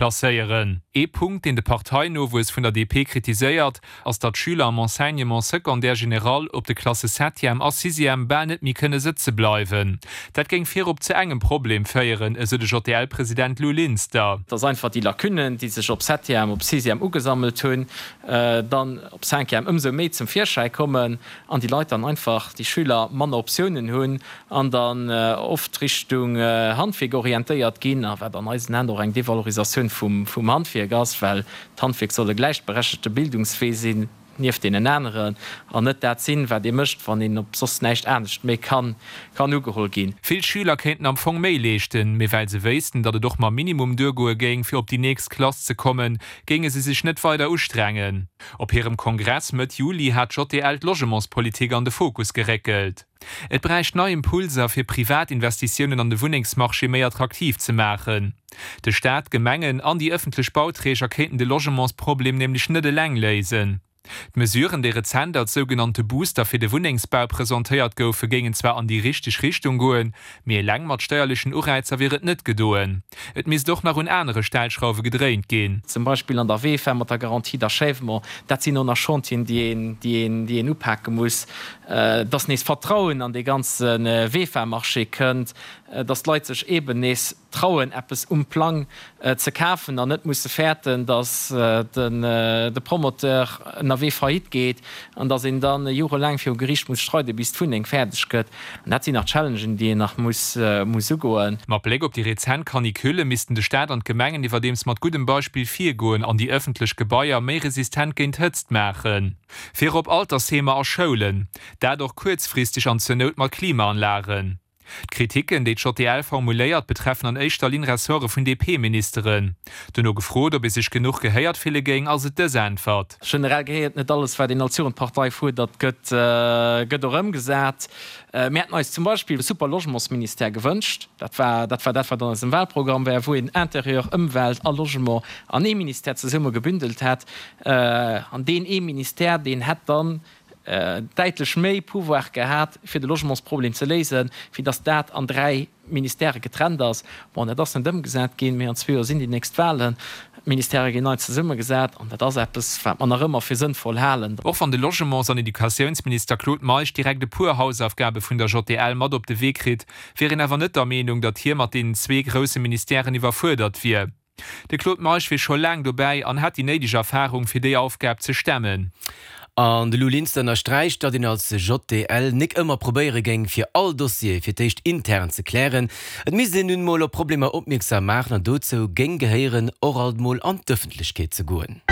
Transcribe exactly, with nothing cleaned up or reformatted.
Placéieren. Ee Punkt, deen de Parteinowuess vun der D P kritiséiert, ass, datt d'Schüler am Enseignement secondaire général op de Klasse Septième a Sixième bal net méi kënne sëtze bleiwen. Dat géing virop zu engem Problem féieren, esou de J D L-President Lou Linster. Dass einfach déi Lacunnen, déi sech op Septième, op Sixième ugesammelt hunn, dann op Cinquième ëmsou méi zum Virschäi kommen an déi Leit dann einfach, déi Schüler, manner Optiounen hunn an dann oft Richtung Handwierk orientéiert ginn, a wat an eisen Aen och eng Devalorisatioun vum Handwierk ass, well d'Handwierk soll e gläichberechtegte Bildungswee sinn nieft deenen aneren an net dat sinn, wat ee mécht, wann een op soss näischt anescht méi kann ugeholl ginn. Vill Schüler kéinten am Fong méi leeschten, mee well se wéissten, datt et och mam Minimum duergoe géing, fir op déi nächst Klass ze kommen, géinge se sech net weider ustrengen. Op hirem Kongress Mëtt Juli hat d'J D L d'Logementspolitik an de Fokus geréckelt. Et bräicht nei Impulser, fir Privatinvestitiounen an de Wunnengsmarché méi attraktiv ze maachen. De Staat, d'Gemengen an déi ëffentlech Bauträger kéinten de Logementsproblem nämlech net eleng léisen. D'Mesuren, déi rezent als sougenannte Booster fir de Wunnengsbau presentéiert goufen, géingen zwar an déi richteg Richtung goen, mee eleng mat steierlechen Ureizer wier et net gedoen. Et misst och nach un anere Stellschrauwe gedréint ginn. Zum Beispill an der V E F A mat der Garantie d'achèvement. Dat sinn och nach Chantieren, déi een, déi een, déi een upake muss, dass nees Vertrauen an dee ganze V E F A-Marché kënnt, dass d'Leit sech eeben nees trauen, eppes um Plang ze kafen an net musse fäerten, dass de Promoteur ënnerwee faillite geet an dass een da jorelaang viru Geriicht muss streiden, bis d'Wunneng fäerdeg gëtt. An dat sinn nach Challengen, déi een nach muss ugoen. Mat Bléck op déi rezent Canicule missten de Staat an d'Gemengen iwwerdeems mat guddem Beispill virgoen an déi ëffentlech Gebaier méi resistent géint Hëtzt maachen. Virop Altersheemer a Schoulen, dat och kuerzfristeg an zur Nout mat Klimaanlagen. D'Kritiken, déi d'J D L formuléiert, betreffen an éischter Linn Ressorte vun D P-Ministeren. Duerno gefrot, ob ee sech genuch gehéiert fille géing, ass et dës Äntwert. Generell gehéiert net alles, wat een als Jugendpartei fuerdert, gëtt gëtt och ëmgesat. Mir hätten eis zum Beispill e super Logementsministère gewënscht. Dat war dat war dat, wat an eisem Wahlprogramm war, wou een Intérieur, Ëmwelt a Logement an ee Ministère zesumme gebündelt hätt. An deen ee Ministère, deen hätt dann däitlech méi Pouvoir gehat, fir de Logementsproblem ze léisen, wéi datt dat an dräi Ministèrë getrennt ass. Bon, dat ass net ëmgesat ginn, mee an zwee Joer sinn déi nächst Wahlen, d'Ministèrë ginn nei zesummegesat an dat ass eppes, wat mer nach ëmmer fir sënnvoll halen. Och wann de Logements an Educatiounsminister Claude Meisch direkt e puer Hausaufgabe vun der J D L mat op de Wee kritt, wier een awer net der Meenung, datt hie mat deenen zwee grousse Ministèren iwwerfuerdert wier. De Claude Meisch wier scho laang dobäi an hätt déi néideg Erfarung, fir déi Aufgab ze stemmen. An de Lou Linster ënnersträicht, datt een als J D L nik ëmmer probéiere géing, fir all Dossier fir d'éischt intern ze klären. Et misst een nun mol op Problemer opmierksam maachen an dozou géing gehéieren, och alt mol an d'Ëffentlechkeet ze goen.